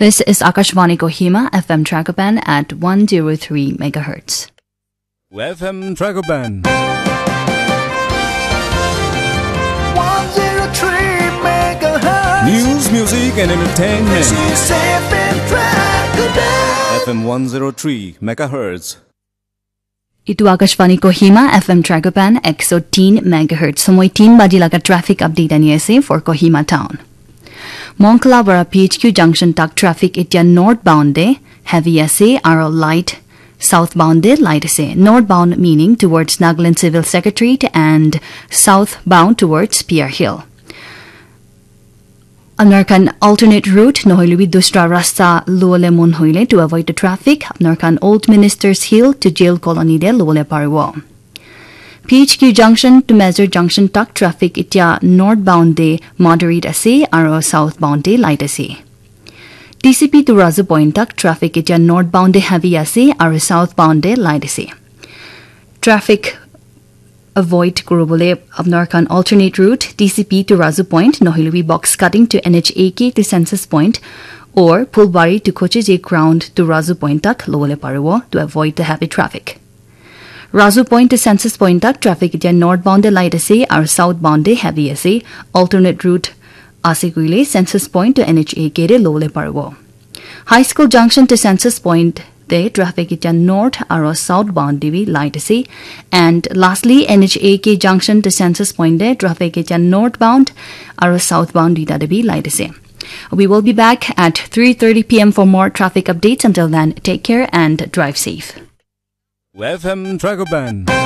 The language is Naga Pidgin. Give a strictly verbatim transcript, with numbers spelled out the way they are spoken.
This is Akashvani Kohima, F M Tragopan at one zero three megahertz. F M Tragopan. One zero three megahertz. News, music, and entertainment. This is F M Tragopan. F M one zero three megahertz. Itu Akashvani Kohima, F M Tragopan, ek so tin megahertz. Somoi tin baji laga traffic update ani ase for Kohima town. Monkala para P H Q junction tak traffic itya northbound de heavy ase aro light, southbound de light ase. Northbound meaning towards Nagaland Civil Secretariat and southbound towards Pier Hill. Apnar khan alternate route nohoile bi dusra rasta lole mon hoile to avoid the traffic, apnar khan Old Ministers Hill to Jail Colony de lole paribo. P H Q junction to Mazur junction tak traffic itya northbound de moderate ase aro southbound de light ase. T C P to Razu Point tak traffic itya northbound de heavy ase aro southbound de light ase. Traffic avoid kuribole apnar khan alternate route T C P to Razu Point nohoile bi box cutting to N H A K to Census Point or Phulbari to Kochije ground to Razu Point tak lobole paribo to avoid the heavy traffic. Razu Point to Census Point tak traffic itya northbound de light ase aro southbound de heavy ase. Alternate route ase koile Census Point to N H A K de lobole paribo. High School junction to Census Point de traffic itya north aro southbound de bi light ase. And lastly, N H A K junction to Census Point de traffic itya northbound aro southbound duita de bi light ase. We will be back at three thirty p m for more traffic updates. Until then, take care and drive safe. F M Tragopan.